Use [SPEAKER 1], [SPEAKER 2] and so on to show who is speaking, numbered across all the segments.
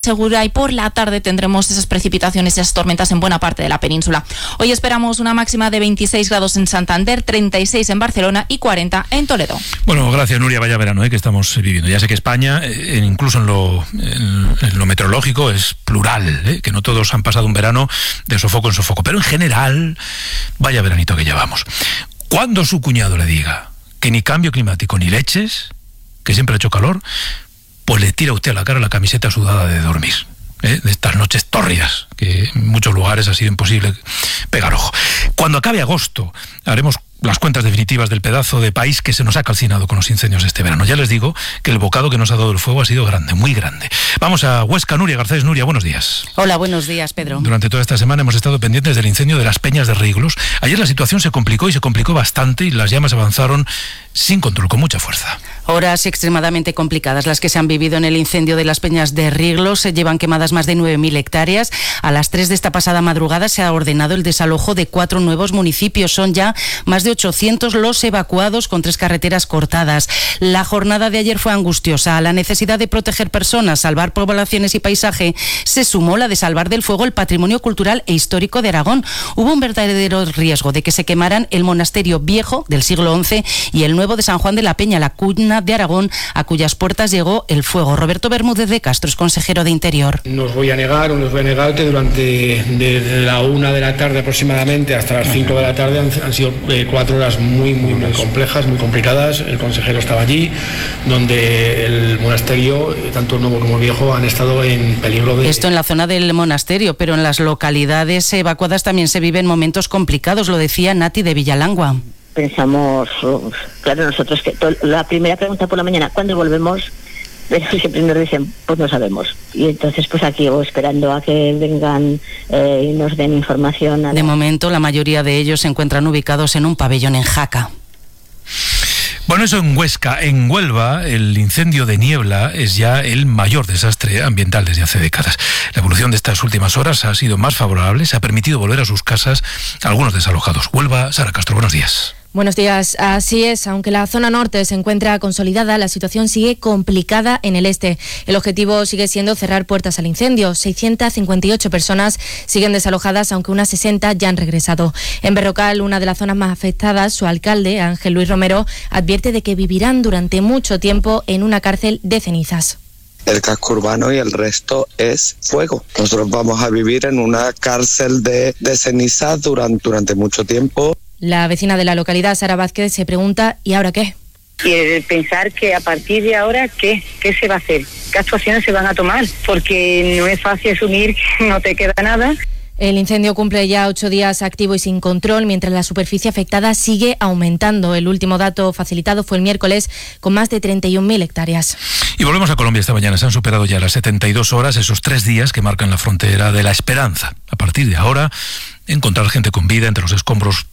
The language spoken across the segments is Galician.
[SPEAKER 1] segura, y por la tarde tendremos esas precipitaciones y esas tormentas en buena parte de la península. Hoy esperamos una máxima de 26 grados en Santander, 36 en Barcelona y 40 en Toledo.
[SPEAKER 2] Bueno, gracias, Nuria. Vaya verano que estamos viviendo. Ya sé que España, incluso en lo meteorológico, es plural, que no todos han pasado un verano de sofoco en sofoco, pero en general, vaya veranito que llevamos. Cuando su cuñado le diga que ni cambio climático ni leches, que siempre ha hecho calor, pues le tira usted a la cara la camiseta sudada de dormir, de estas noches tórridas, que en muchos lugares ha sido imposible pegar ojo. Cuando acabe agosto, haremos las cuentas definitivas del pedazo de país que se nos ha calcinado con los incendios de este verano. Ya les digo que el bocado que nos ha dado el fuego ha sido grande, muy grande. Vamos a Huesca. Nuria Garcés. Nuria, buenos días.
[SPEAKER 3] Hola, buenos días, Pedro.
[SPEAKER 2] Durante toda esta semana hemos estado pendientes del incendio de las Peñas de Riglos. Ayer la situación se complicó bastante y las llamas avanzaron sin control, con mucha fuerza.
[SPEAKER 3] Horas extremadamente complicadas las que se han vivido en el incendio de las Peñas de Riglos. Se llevan quemadas más de 9.000 hectáreas. A las 3 de esta pasada madrugada se ha ordenado el desalojo de 4 nuevos municipios. Son ya más de 800 los evacuados, con 3 carreteras cortadas. La jornada de ayer fue angustiosa. A la necesidad de proteger personas, salvar poblaciones y paisaje, se sumó la de salvar del fuego el patrimonio cultural e histórico de Aragón. Hubo un verdadero riesgo de que se quemaran el monasterio viejo del siglo XI y el nuevo de San Juan de la Peña, la cuna de Aragón, a cuyas puertas llegó el fuego. Roberto Bermúdez de Castro es consejero de Interior.
[SPEAKER 4] No os voy a negar que durante desde la 1 de la tarde aproximadamente hasta las 5 de la tarde han sido 4 horas muy complejas, muy complicadas. El consejero estaba allí, donde el monasterio, tanto el nuevo como el viejo, han estado en peligro de...
[SPEAKER 3] Esto en la zona del monasterio, pero en las localidades evacuadas también se viven momentos complicados, lo decía Nati de Villalangua.
[SPEAKER 5] Pensamos, claro, nosotros que la primera pregunta por la mañana, ¿cuándo volvemos? Pero siempre nos dicen, pues no sabemos. Y entonces pues aquí esperando a que vengan y nos den información.
[SPEAKER 3] De momento la mayoría de ellos se encuentran ubicados en un pabellón en Jaca.
[SPEAKER 2] Bueno, eso en Huesca. En Huelva, el incendio de Niebla es ya el mayor desastre ambiental desde hace décadas. La evolución de estas últimas horas ha sido más favorable, se ha permitido volver a sus casas a algunos desalojados. Huelva, Sara Castro, buenos días.
[SPEAKER 6] Buenos días. Así es, aunque la zona norte se encuentra consolidada, la situación sigue complicada en el este. El objetivo sigue siendo cerrar puertas al incendio. 658 personas siguen desalojadas, aunque unas 60 ya han regresado. En Berrocal, una de las zonas más afectadas, su alcalde, Ángel Luis Romero, advierte de que vivirán durante mucho tiempo en una cárcel de cenizas.
[SPEAKER 7] El casco urbano y el resto es fuego. Nosotros vamos a vivir en una cárcel de cenizas durante mucho tiempo.
[SPEAKER 6] La vecina de la localidad, Sara Vázquez, se pregunta, ¿y ahora qué?
[SPEAKER 8] Y pensar que a partir de ahora, ¿qué se va a hacer? ¿Qué actuaciones se van a tomar? Porque no es fácil asumir que no te queda nada.
[SPEAKER 6] El incendio cumple ya 8 días activo y sin control, mientras la superficie afectada sigue aumentando. El último dato facilitado fue el miércoles, con más de 31.000 hectáreas.
[SPEAKER 2] Y volvemos a Colombia esta mañana. Se han superado ya las 72 horas, esos 3 días que marcan la frontera de la esperanza. A partir de ahora, encontrar gente con vida entre los escombros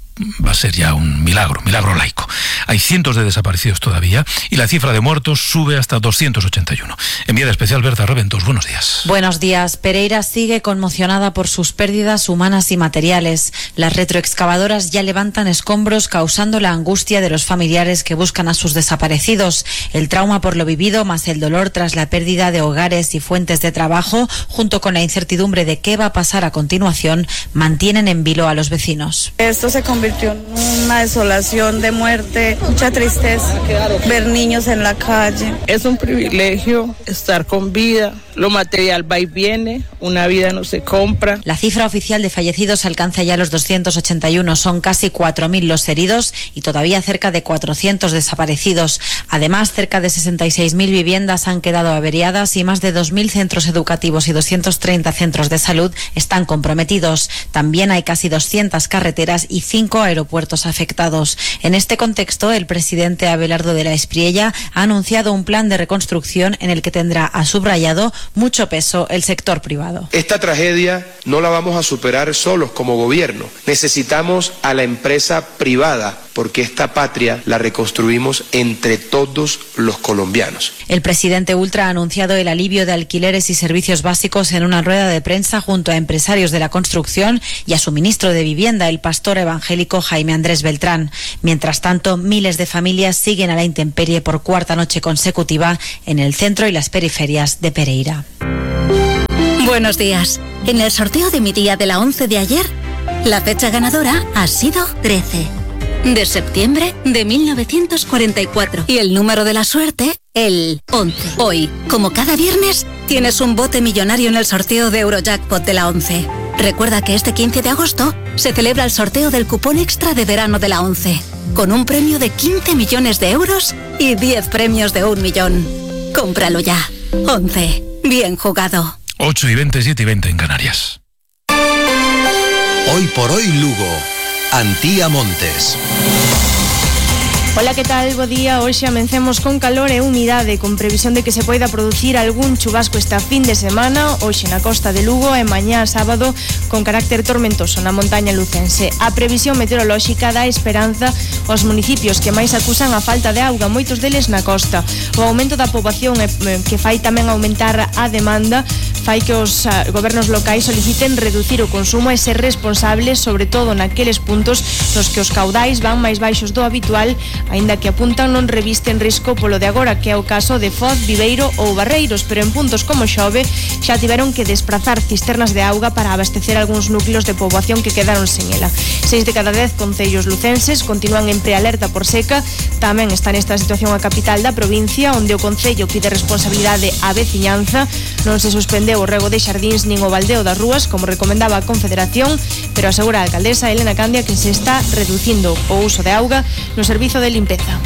[SPEAKER 2] va a ser ya un milagro laico. Hay cientos de desaparecidos todavía y la cifra de muertos sube hasta 281. Enviada especial Berta Reventos, buenos días.
[SPEAKER 9] Buenos días. Pereira sigue conmocionada por sus pérdidas humanas y materiales. Las retroexcavadoras ya levantan escombros, causando la angustia de los familiares que buscan a sus desaparecidos. El trauma por lo vivido, más el dolor tras la pérdida de hogares y fuentes de trabajo, junto con la incertidumbre de qué va a pasar a continuación, mantienen en vilo a los vecinos.
[SPEAKER 10] Esto se convirtió en una desolación de muerte, mucha tristeza, ver niños en la calle.
[SPEAKER 11] Es un privilegio estar con vida, lo material va y viene, una vida no se compra.
[SPEAKER 9] La cifra oficial de fallecidos alcanza ya los 281, son casi 4.000 los heridos y todavía cerca de 400 desaparecidos. Además, cerca de 66.000 viviendas han quedado averiadas y más de 2.000 centros educativos y 230 centros de salud están comprometidos. También hay casi 200 carreteras y 5 aeropuertos afectados. En este contexto, el presidente Abelardo de la Espriella ha anunciado un plan de reconstrucción en el que tendrá, ha subrayado, mucho peso el sector privado.
[SPEAKER 12] Esta tragedia no la vamos a superar solos como gobierno. Necesitamos a la empresa privada porque esta patria la reconstruimos entre todos los colombianos.
[SPEAKER 9] El presidente Ultra ha anunciado el alivio de alquileres y servicios básicos en una rueda de prensa junto a empresarios de la construcción y a su ministro de Vivienda, el pastor evangélico Jaime Andrés Beltrán. Mientras tanto, miles de familias siguen a la intemperie por cuarta noche consecutiva en el centro y las periferias de Pereira.
[SPEAKER 13] Buenos días. En el sorteo de mi día de la 11 de ayer, la fecha ganadora ha sido 13 de septiembre de 1944 y el número de la suerte, el 11. Hoy, como cada viernes, tienes un bote millonario en el sorteo de Eurojackpot de la 11. Recuerda que este 15 de agosto se celebra el sorteo del cupón extra de verano de la 11, con un premio de 15 millones de euros y 10 premios de 1 millón. Cómpralo ya. 11. Bien jugado.
[SPEAKER 2] 8:20, 7:20 en Canarias.
[SPEAKER 14] Hoy por hoy Lugo. Antía Montes.
[SPEAKER 6] Ola, que tal? Bo día. Hoxe amencemos con calor e humidade, con previsión de que se poida producir algún chubasco esta fin de semana, hoxe na costa de Lugo e mañá sábado con carácter tormentoso na montaña lucense. A previsión meteorolóxica dá esperanza aos municipios que máis acusan a falta de auga, moitos deles na costa. O aumento da poboación que fai tamén aumentar a demanda fai que os gobernos locais soliciten reducir o consumo e ser responsables, sobre todo naqueles puntos nos que os caudais van máis baixos do habitual, aínda que apuntan non revisten risco polo de agora, que é o caso de Foz, Viveiro ou Barreiros, pero en puntos como Xove xa tiveron que desprazar cisternas de auga para abastecer algúns núcleos de poboación que quedaron sen ela. 6 de cada 10 concellos lucenses continúan en prealerta por seca. Tamén está nesta situación a capital da provincia, onde o concello pide responsabilidade á veciñanza. Non se suspendeu o rego de xardíns nin o baldeo das rúas, como recomendaba a Confederación, pero asegura a alcaldesa Elena Candia que se está reducindo o uso de auga no servizo de limpeza.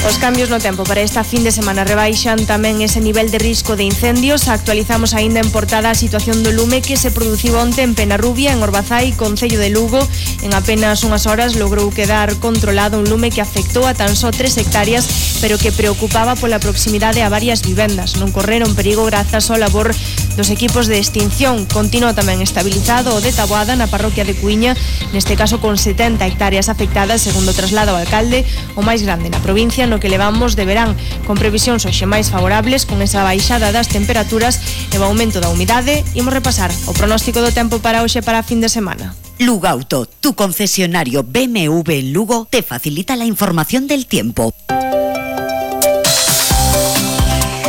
[SPEAKER 6] Os cambios no tempo para esta fin de semana rebaixan tamén ese nivel de risco de incendios. Actualizamos aínda en portada a situación do lume que se produciu onte en Penarrubia, en Orbazai, concello de Lugo. En apenas unhas horas logrou quedar controlado un lume que afectou a tan só 3 hectáreas, pero que preocupaba pola proximidade a varias vivendas. Non correron perigo grazas ao labor dos equipos de extinción. Continúa tamén estabilizado o de Taboada na parroquia de Cuíña, neste caso con 70 hectáreas afectadas, segundo traslado ao alcalde, o máis grande na provincia no que levamos de verán, con previsións hoxe máis favorables, con esa baixada das temperaturas e o aumento da humidade. Imos repasar o pronóstico do tempo para hoxe para a fin de semana.
[SPEAKER 15] Lugauto, tu concesionario BMW en Lugo, te facilita la información del tiempo.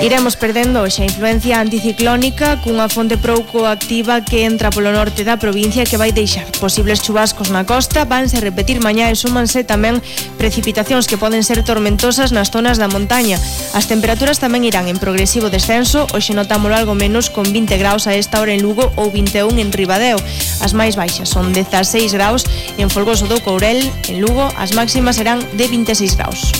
[SPEAKER 6] Iremos perdendo hoxe a influencia anticiclónica cunha fonte pouco activa que entra polo norte da provincia, que vai deixar posibles chubascos na costa. Vanse repetir mañá e súmanse tamén precipitacións que poden ser tormentosas nas zonas da montaña. As temperaturas tamén irán en progresivo descenso. Hoxe notámolo algo menos, con 20 graus a esta hora en Lugo ou 21 en Ribadeo. As máis baixas son 16 graus en Folgoso do Courel. En Lugo as máximas serán de 26 graus.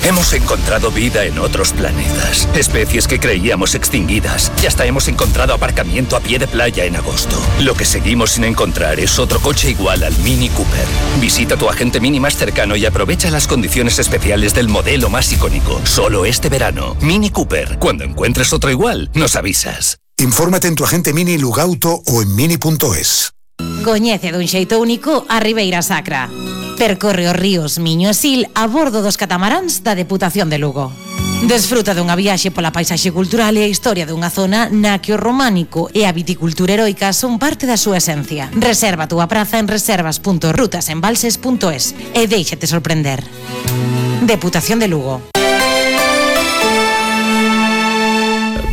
[SPEAKER 16] Hemos encontrado vida en otros planetas, especies que creíamos extinguidas, y hasta hemos encontrado aparcamiento a pie de playa en agosto. Lo que seguimos sin encontrar es otro coche igual al Mini Cooper. Visita tu agente Mini más cercano y aprovecha las condiciones especiales del modelo más icónico. Solo este verano. Mini Cooper. Cuando encuentres otro igual, nos avisas.
[SPEAKER 17] Infórmate en tu agente Mini Lugauto o en mini.es.
[SPEAKER 9] Coñece dun xeito único a Ribeira Sacra. Percorre os ríos Miño e Sil a bordo dos catamaráns da Deputación de Lugo. Desfruta dunha viaxe pola paisaxe cultural e a historia dunha zona na que o románico e a viticultura heroica son parte da súa esencia. Reserva a túa praza en reservas.rutasembalses.es e déixate sorprender. Deputación de Lugo.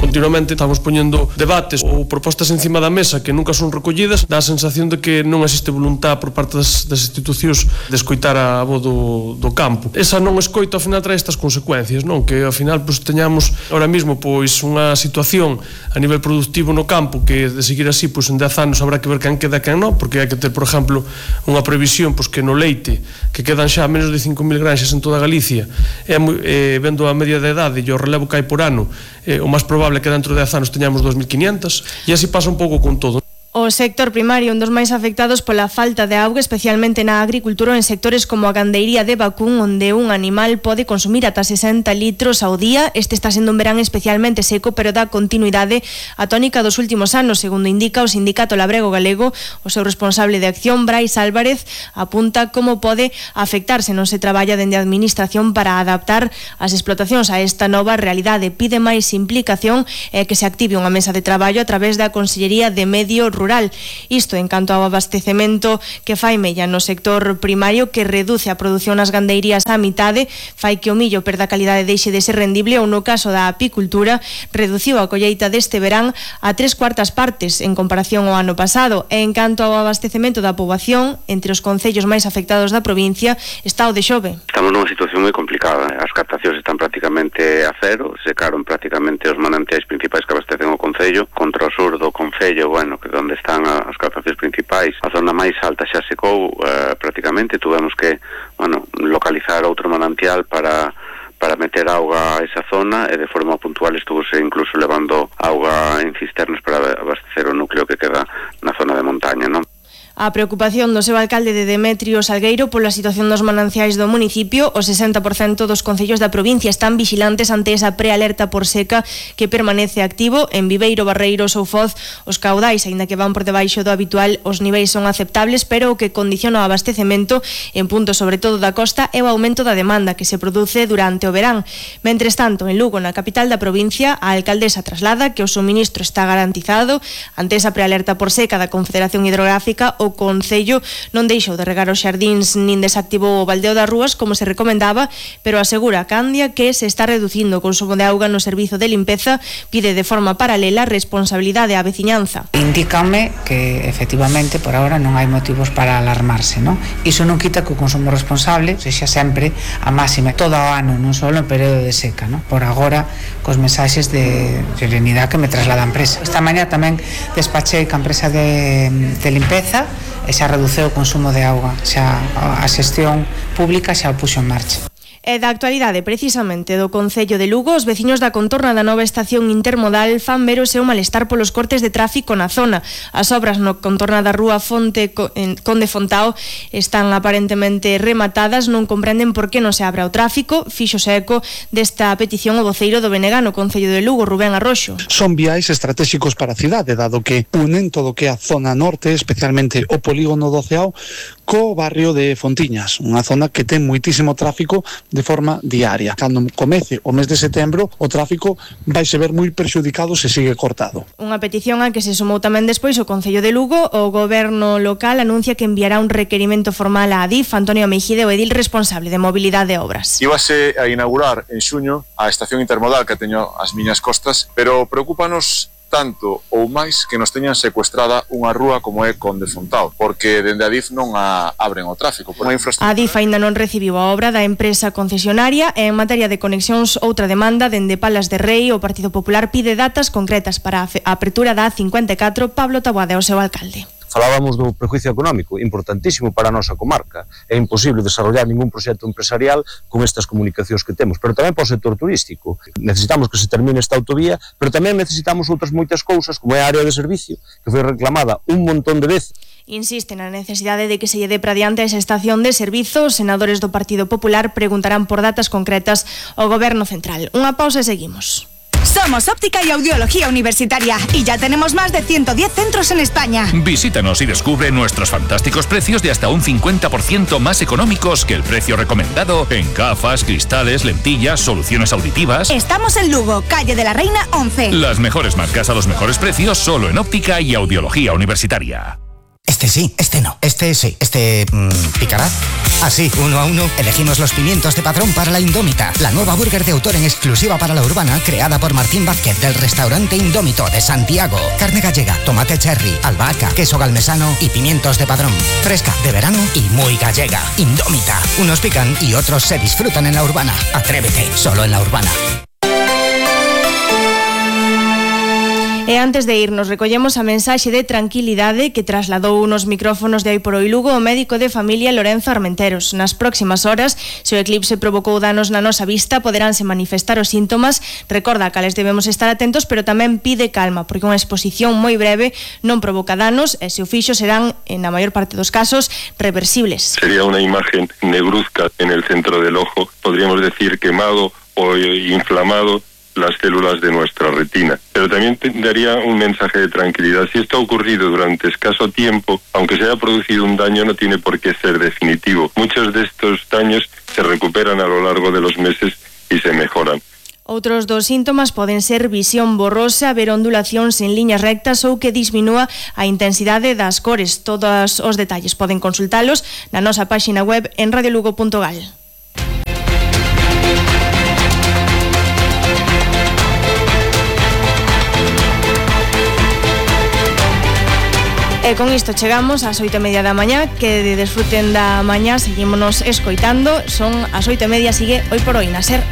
[SPEAKER 18] Continuamente estamos poñendo debates ou propostas encima da mesa que nunca son recollidas. Dá a sensación de que non existe voluntad por parte das institucións de escoitar a voz do campo. Esa non escoita ao final trae estas consecuencias, non? Que ao final teñamos ahora mismo unha situación a nivel productivo no campo que de seguir así en 10 anos habrá que ver quen queda e quen non, porque hai que ter, por exemplo, unha previsión que no leite, que quedan xa menos de 5.000 granxas en toda Galicia, vendo a media de idade e o relevo que hai por ano, o máis probable que dentro de 10 anos teñamos 2.500, e así pasa un pouco con todo.
[SPEAKER 6] O sector primario, un dos máis afectados pola falta de auga, especialmente na agricultura ou en sectores como a gandeiría de vacún, onde un animal pode consumir ata 60 litros ao día. Este está sendo un verán especialmente seco, pero dá continuidade á tónica dos últimos anos, segundo indica o Sindicato Labrego Galego. O seu responsable de acción, Brais Álvarez, apunta como pode afectarse non se traballa dende a administración para adaptar as explotacións a esta nova realidade. Pide máis implicación e que se active unha mesa de traballo a través da Consellería de Medio Rural rural. Isto en canto ao abastecemento que fai mella no sector primario, que reduce a produción nas gandeirías á mitade, fai que o millo perda calidade e deixe de ser rendible, ou no caso da apicultura, reduciu a colleita deste verán a 3/4 partes en comparación ao ano pasado. E en canto ao abastecemento da poboación, entre os concellos máis afectados da provincia está o de Xove.
[SPEAKER 19] Estamos nunha situación moi complicada. As captacións están prácticamente a cero, secaron prácticamente os manantiais principais que abastecen o concello. Contra o sur do concello, bueno, que onde están as captacións principais, a zona máis alta xa secou prácticamente. Tuvemos que, bueno, localizar outro manantial para meter auga a esa zona, e de forma puntual estuvose incluso levando auga en cisternas para abastecer o núcleo que queda na zona de montaña, non?
[SPEAKER 6] A preocupación do seu alcalde de Demetrio Salgueiro pola situación dos mananciais do municipio. O 60% dos concellos da provincia están vigilantes ante esa prealerta por seca que permanece activo. En Viveiro, Barreiros ou Foz, os caudais, aínda que van por debaixo do habitual, os niveis son aceptables, pero o que condiciona o abastecemento en puntos sobre todo da costa é o aumento da demanda que se produce durante o verán. Mentres tanto, en Lugo, na capital da provincia, a alcaldesa traslada que o suministro está garantizado. Ante esa prealerta por seca da Confederación Hidrográfica, o Concello non deixou de regar os xardíns nin desactivou o baldeo das rúas como se recomendaba, pero asegura a Candia que se está reducindo o consumo de auga no servizo de limpeza. Pide de forma paralela responsabilidade á veciñanza.
[SPEAKER 20] Indícame que efectivamente por ahora non hai motivos para alarmarse, non? Iso non quita que o consumo responsable sexa sempre a máxima todo o ano, non só en período de seca, non? Por agora, cos mensaxes de serenidade que me traslada a empresa. Esta mañá tamén despachei ca empresa de limpeza e xa reduceu o consumo de auga, xa a xestión pública xa o puxo en marcha.
[SPEAKER 6] E da actualidade precisamente do Concello de Lugo, os veciños da contorna da nova estación intermodal fan ver o seu malestar polos cortes de tráfico na zona. As obras no contorna da rúa Conde Fontao están aparentemente rematadas, non comprenden por que non se abra o tráfico. Fíxose eco desta petición o voceiro do BNG no Concello de Lugo, Rubén Arroxo.
[SPEAKER 21] Son viais estratégicos para a cidade, dado que unen todo o que é a zona norte, especialmente o polígono do Ceao, co barrio de Fontiñas, unha zona que ten moitísimo tráfico de forma diaria. Cando comece o mes de setembro, o tráfico vai se ver moi perxudicado se sigue cortado.
[SPEAKER 6] Unha petición a que se sumou tamén despois o Concello de Lugo. O goberno local anuncia que enviará un requerimento formal a Adif. Antonio Meixide, o edil responsable de mobilidade e obras.
[SPEAKER 22] Íbase a inaugurar en xuño a estación intermodal que teño ás miñas costas, pero preocúpanos tanto ou máis que nos teñan secuestrada unha rúa como é Conde Fontao, porque dende Adif non abren o tráfico.
[SPEAKER 6] Adif aínda non recibiu a obra da empresa concesionaria, e en materia de conexións outra demanda dende Palas de Rei. O Partido Popular pide datas concretas para a apertura da A54. Pablo Taboada é o seu alcalde.
[SPEAKER 23] Falábamos do prejuicio económico, importantísimo para a nosa comarca. É imposible desarrollar ningún proxecto empresarial con estas comunicacións que temos, pero tamén para o sector turístico. Necesitamos que se termine esta autovía, pero tamén necesitamos outras moitas cousas, como é a área de servicio, que foi reclamada un montón de veces.
[SPEAKER 6] Insiste na necesidade de que se lle dé para diante esa estación de servizo. Os senadores do Partido Popular preguntarán por datas concretas ao Goberno Central. Unha pausa e seguimos.
[SPEAKER 24] Somos Óptica y Audiología Universitaria y ya tenemos más de 110 centros en España.
[SPEAKER 16] Visítanos y descubre nuestros fantásticos precios de hasta un 50% más económicos que el precio recomendado en gafas, cristales, lentillas, soluciones auditivas.
[SPEAKER 24] Estamos en Lugo, calle de la Reina 11.
[SPEAKER 16] Las mejores marcas a los mejores precios solo en Óptica y Audiología Universitaria.
[SPEAKER 25] Este sí, este no. Este sí, ¿picará? Así, 1 a 1, elegimos los pimientos de Padrón para la Indómita, la nueva burger de autor en exclusiva para la urbana, creada por Martín Vázquez del restaurante Indómito de Santiago. Carne gallega, tomate cherry, albahaca, queso galmesano y pimientos de Padrón. Fresca, de verano y muy gallega. Indómita. Unos pican y otros se disfrutan en la urbana. Atrévete, solo en la urbana.
[SPEAKER 6] E antes de irnos, recollemos a mensaxe de tranquilidade que trasladou unos micrófonos de Hai por Hoi Lugo o médico de familia Lorenzo Armenteros. Nas próximas horas, se o eclipse provocou danos na nosa vista, poderánse manifestar os síntomas. Recorda que les debemos estar atentos, pero tamén pide calma, porque unha exposición moi breve non provoca danos, e se o fixo serán, na maior parte dos casos, reversibles.
[SPEAKER 26] Sería unha imagen negruzca en el centro del ojo, podríamos decir quemado o inflamado las células de nuestra retina. Pero también daría un mensaje de tranquilidad. Si esto ha ocurrido durante escaso tiempo, aunque se haya producido un daño, no tiene por qué ser definitivo. Muchos de estos daños se recuperan a lo largo de los meses y se mejoran.
[SPEAKER 1] Outros dos síntomas poden ser visión borrosa, ver ondulacións en liñas rectas ou que disminúa a intensidade das cores. Todos os detalles poden consultalos na nosa páxina web en radiolugo.gal. E con isto chegamos ás 8:30 da mañá. Que desfruten da mañá, seguímonos escoitando. Son as 8:30, sigue Hoy por Hoy na SER.